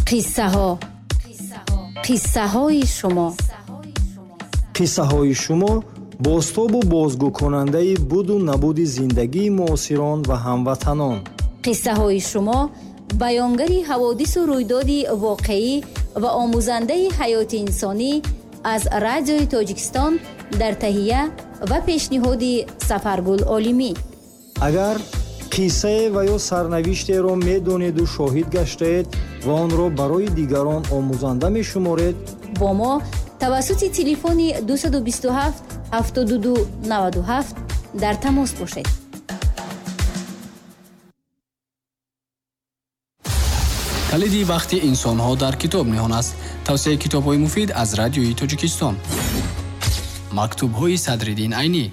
Қиссаҳо. Қиссаҳои шумо. Қиссаҳои шумо бозтобу бозгӯкунандаи буду набуди зиндагии муосирон ва ҳамватанон. Қиссаҳои шумо баёнгари ҳаводису рӯйдоди воқеӣ ва омӯзандаи ҳаёти инсонӣ аз Радиои Тоҷикистон дар таҳия ва пешниҳоди Сафаргул Олимӣ. Агар қиссае ва ё сарнавиштеро медонеду шоҳид гаштаед ва онро барои дигарон омӯзанда мешуморед, бо мо тавассути телефони 227 72 97 дар тамос бошед. Калиди вақти инсонҳо дар китоб ниҳон аст. Тавсияи китобҳои муфид аз Радиои Тоҷикистон. Мактубҳои Садриддин Айнӣ.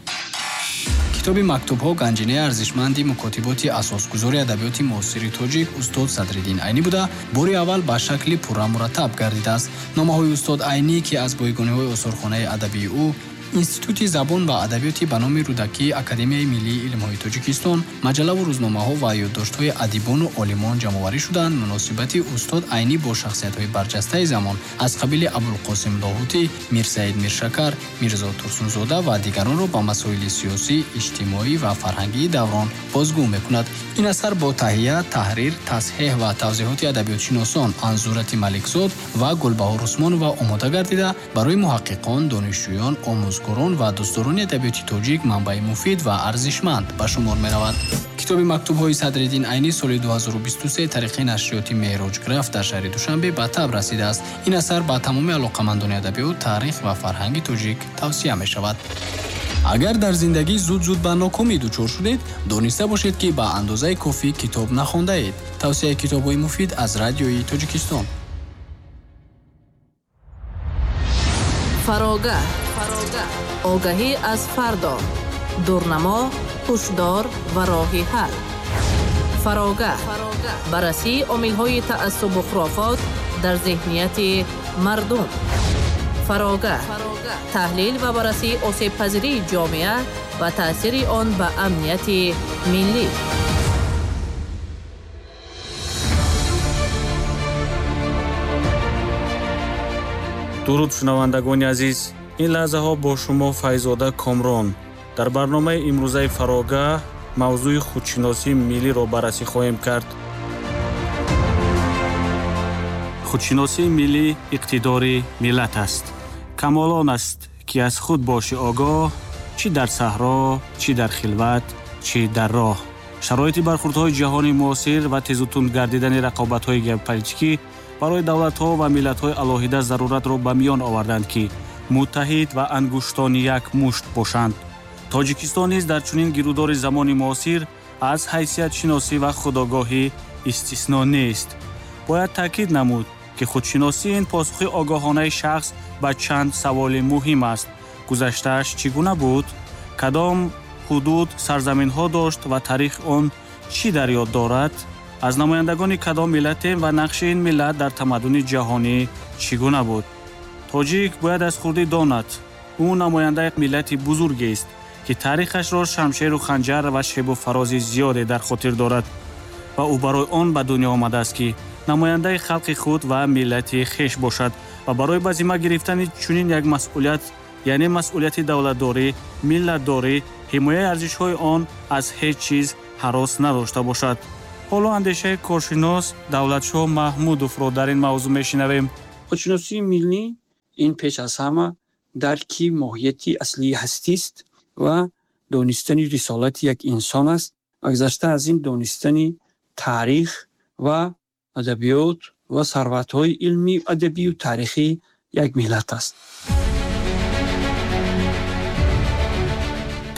Китоби мактубҳо ганҷинаи арзишманди мукотиботи асосгузори адабиёти муосири тоҷик устод Садриддин Айнӣ буда, бори аввал ба шакли пурра мураттаб гардидааст. Номаҳои устод Айнӣ, ки аз бойгониҳои осорхонаи адабии ӯ, Институти забон ва адабиёти ба номи Рӯдакӣ, Академияи миллии илмҳои Тоҷикистон, маҷаллаву рӯзномаҳо ва ёддоштҳои адибону олимон ҷамъоварӣ шуданд, муносибати устод Айнӣ бо шахсиятҳои барҷастаи замон аз қабили Абулқосим Лоҳутӣ, Мирсаид Миршакар, Мирзо Турсунзода ва дигаронро ба масоили сиёсӣ, иҷтимоӣ ва фарҳангии даврон бозгӯ мекунад. Ин асар бо таҳия, таҳрир, тасҳеҳ ва тавзеҳоти адабиётшиносон Анзурати Маликзод ва Гулбаҳор Усмонова омода гардида, барои муҳаққиқон, донишҷӯён, омӯзгорон ва дӯстдорони адабиёти тоҷик манбаи муфид ва арзишманд ба шумор меравад. Китоби мактубҳои Садриддин Айнӣ соли 2023 тариқи нашриёти Меҳроҷграф дар шаҳри Душанбе ба таб расидааст. Ин асар ба тамоми алоқамандони адабиёт, таърих ва фарҳанги тоҷик тавсия мешавад. Агар дар зиндагӣ зуд-зуд ба нокомӣ дучор шудед, дониста бошед, ки ба андозаи кофӣ китоб нахондаед. Тавсияи китобҳои муфид аз Радиои Тоҷикистон. Фарогаҳ. Огаҳӣ аз фардо. Дурнамо, ҳушдор ва роҳи ҳал. Фарогаҳ. Баррасии омилҳои таассубу хурофот дар зеҳнияти мардум. Фарогаҳ. Таҳлил ва баррасии осебпазирии ҷомеа ва таъсири он ба амнияти миллӣ. Дуруд шунавандагони азиз, ин лаҳзаҳо бо шумо Файзода Комрон. Дар барномаи имрӯзаи Фарогаҳ мавзӯи худшиносии миллиро баррасӣ хоҳем кард. Худшиносии миллӣ иқтидори миллат аст. Камолон аст, ки аз худ боши огоҳ, чӣ дар саҳро, чӣ дар хилват, чӣ дар роҳ. Шароити бархурдҳои ҷаҳони муосир ва тезутунд гардидани рақобатҳои геополитикӣ барои давлатҳо ва миллатҳои алоҳида заруратро ба миён оварданд, ки муттаҳид ва ангуштони як мушт бошанд. Тоҷикистон низ дар чунин гирудори замони муосир аз ҳайсиятшиносӣ ва худогоҳӣ истисно нест. Бояд таъкид намуд, ки худшиносӣ ин посухи огоҳонаи шахс ба чанд саволи муҳим аст. Гузаштааш чӣ гуна буд? Кадом ҳудуд сарзаминҳо дошт ва таърих он чӣ дар ёд дорад? Аз намояндагони кадом миллатем ва нақши ин миллат дар тамаддуни ҷаҳонӣ чӣ гуна буд? Тоҷик бояд аз хурдӣ донад, ӯ намояндаи миллати бузургест, ки таърихашро шамшеру ханҷар ва шебу фарози зиёде дар хотир дорад ва ӯ барои он ба дунё омадааст, ки намояндаи халқи худ ва миллати хеш бошад ва барои ба зимма гирифтани чунин як масъулият, яъне масъулияти давлатдорӣ, миллатдорӣ, ҳимояи арзишҳои он аз ҳеҷ чиз ҳарос надошта бошад. Ҳоло андешаи коршинос Давлатшоҳ Маҳмудовро дар ин мавзӯъ мешинавем. Худшиносии миллӣ ин пеш аз ҳама дарки моҳияти аслии ҳастист ва донистани рисолати як инсон аст ва гузашта аз ин донистани таърих ва адабиёт ва сарватҳои илмӣ, адабию таърихии як миллат аст.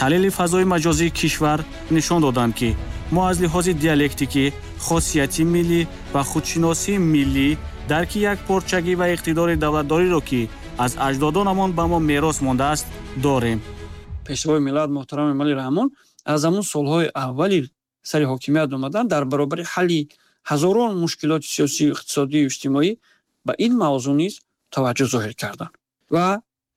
Таҳлили фазои маҷозии кишвар нишон доданд, ки мо аз лиҳози диалектикӣ, хосияти миллӣ ва худшиносии миллӣ дарки якпорчагӣ ва иқтидори давлатдориро, ки аз аҷдодонамон ба мо мерос мондааст, дорем. Пешвои миллат муҳтарам Эмомалӣ Раҳмон аз ҳамон солҳои аввали сари ҳокимият омадан дар баробари ҳалли ҳазорон мушкилоти сиёсӣ, иқтисодию иҷтимоӣ ба ин мавзӯъ низ таваҷҷӯҳ зоҳир карданд ва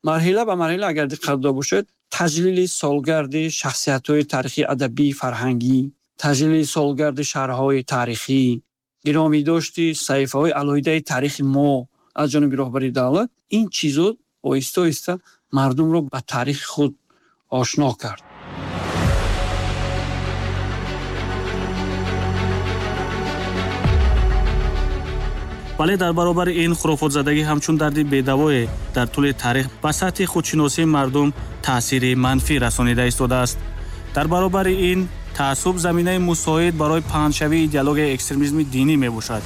марҳила ба марҳила агар диққат дода бошед, таҷлили солгарди шахсиятҳои таърихӣ, адабӣ, фарҳангӣ, таҷлили солгарди шаҳрҳои таърихӣ, Гиромӣ дошти саҳифаҳои алоҳидаи таърихи мо аз ҷониби роҳбари давлат, ин чизо оҳиста оҳиста мардумро ба таърихи худ ошно кард. Вале дар баробари ин хурофотзадагӣ ҳамчун дарди бедавое дар тӯли таърих ба сатҳи худшиносии мардум таъсири манфӣ расонида истодааст. Дар баробари ин таассуб заминаи мусоид барои паҳншавии идеологияи экстремизми динӣ мебошад,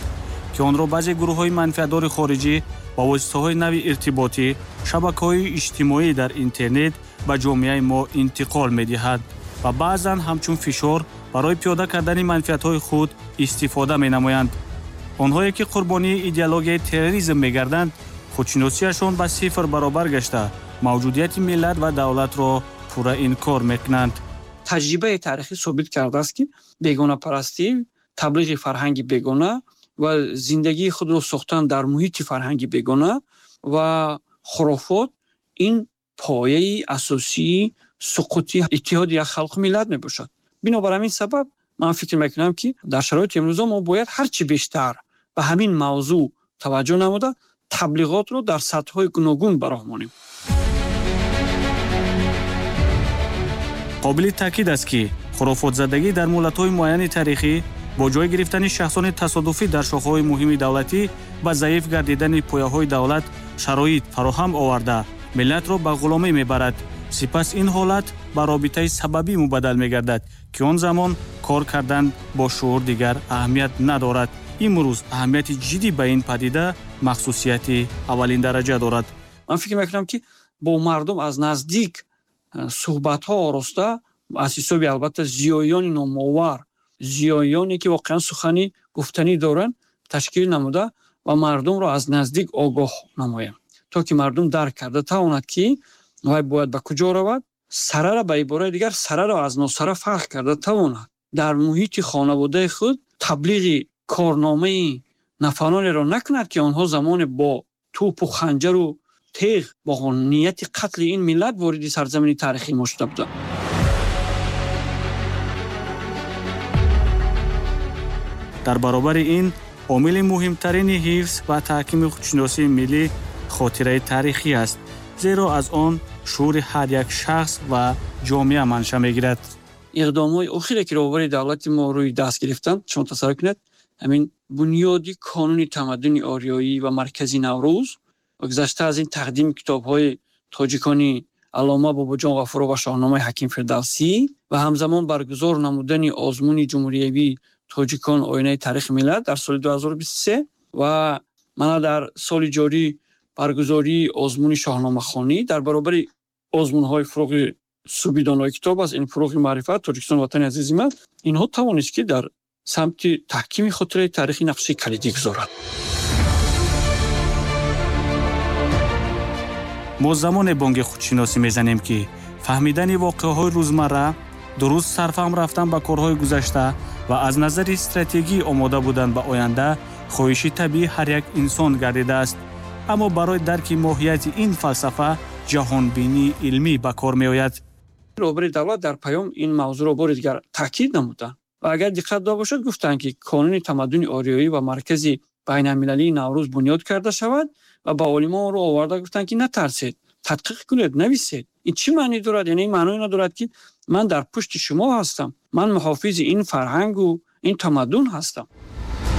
ки онро баъзе гурӯҳҳои манфиатдори хориҷӣ ба воситаҳои нави иртиботӣ, шабакаҳои иҷтимоӣ дар интернет ба ҷомеаи мо интиқол медиҳад ва баъзан ҳамчун фишор барои пиёда кардани манфиатҳои худ истифода менамоянд. Онҳое ки қурбонии идеологияи терроризм мегарданд, худшиносиашон ба сифр баробар гашта, мавҷудияти миллат ва давлатро пурра инкор мекунанд. Таҷрибаи таърихӣ собит кардааст, ки бегонапарастӣ, таблиғи фарҳанги бегона ва зиндагии худро сохтан дар муҳити фарҳанги бегона ва хурофот ин пояи асосии суқути иттиҳоди як халқу миллат мебошад. Бинобар ҳамин сабаб ман фикр мекунам, ки дар шароити имрӯза мо бояд ҳарчи бештар ба ҳамин мавзӯъ таваҷҷӯҳ намуда, таблиғотро дар сатҳҳои гуногун ба роҳ монем. Қобили таъкид аст, ки хурофотзадагӣ дар муҳлатҳои муайяни таърихӣ бо ҷой гирифтани шахсони тасодуфӣ дар шохаҳои муҳими давлатӣ ба заиф гардидани пояҳои давлат шароит фароҳам оварда, миллатро ба ғуломӣ мебарад. Сипас ин ҳолат ба робитаи сабабӣ мубаддал мегардад, ки он замон кор кардан бо шуур дигар аҳамият надорад. Имрӯз аҳамияти ҷиддӣ ба ин падида махсусияти аввалиндараҷа дорад. Ман фикр мекунам, ки бо мардум аз наздик суҳбатҳо ороста, аз ҳисоби албатта зиёиёни номовар, зиёиёне ки воқеан сухани гуфтанӣ доранд, ташкил намуда ва мардумро аз наздик огоҳ намоем, то ки мардум дарк карда тавонад, ки вай бояд ба куҷо равад, сарара, ба ибораи дигар, сараро аз носара фарқ карда тавонад. Дар муҳити хонаводаи худ таблиғи корномаи нафаронеро накунад, ки онҳо замоне бо тӯпу ханҷару теғ бо нияти қатли ин миллат вориди сарзамини таърихии мо шуда буданд. Дар баробари ин омили муҳимтарини ҳифз ва таҳкими худшиносии миллӣ хотираи таърихӣ аст, зеро аз он шуури ҳар як шахс ва ҷомеа манша мегирад. Иқдомҳои охире, ки роҳбари давлати мо рӯи даст гирифтанд, шумо тасаввур кунед, ҳамин бунёди Канони тамаддуни ориёӣ ва маркази Наврӯз ва гузашта аз ин тақдими китобҳои тоҷикони аллома Бобоҷон Ғафуров ва Шоҳномаи Ҳаким Фирдавсӣ ва ҳамзамон баргузор намудани озмуни ҷумҳуриявии «Тоҷикон оинаи таърихи миллат» дар соли 2023 ва мана дар соли ҷорӣ баргузории озмуни шоҳномахонӣ дар баробари озмунҳои «Фурӯғи субҳи донои китоб аст», ин «Фурӯғи маърифат», «Тоҷикистон ватани азизи ман», инҳо тавонист, ки дар самти таҳкими хотираи таърихӣ нақши калидӣ гузорад. Мо замоне бонги худшиносӣ мезанем, ки фаҳмидани воқеаҳои рӯзмарра, дуруст сарфаҳм рафтан ба корҳои гузашта ва аз назари стратегӣ омода будан ба оянда хоҳиши табиии ҳар як инсон гардидааст. Аммо барои дарки моҳияти ин фалсафа ҷаҳонбинии илмӣ ба кор меояд. Роҳбари давлат дар паём ин мавзӯъро бори дигар таъкид намуданд ва агар диққат дода бошад, гуфтанд, ки Канони тамаддуни ориёӣ ва маркази байналмилалии Наврӯз бунёд карда шавад ва ба олимон онро оварда гуфтанд, ки натарсед, тадқиқ кунед, нависед. Ин чӣ маънӣ дорад? Яъне ин маъное надорад, ки ман дар пушти шумо ҳастам, ман муҳофизи ин фарҳангу ин тамаддун ҳастам.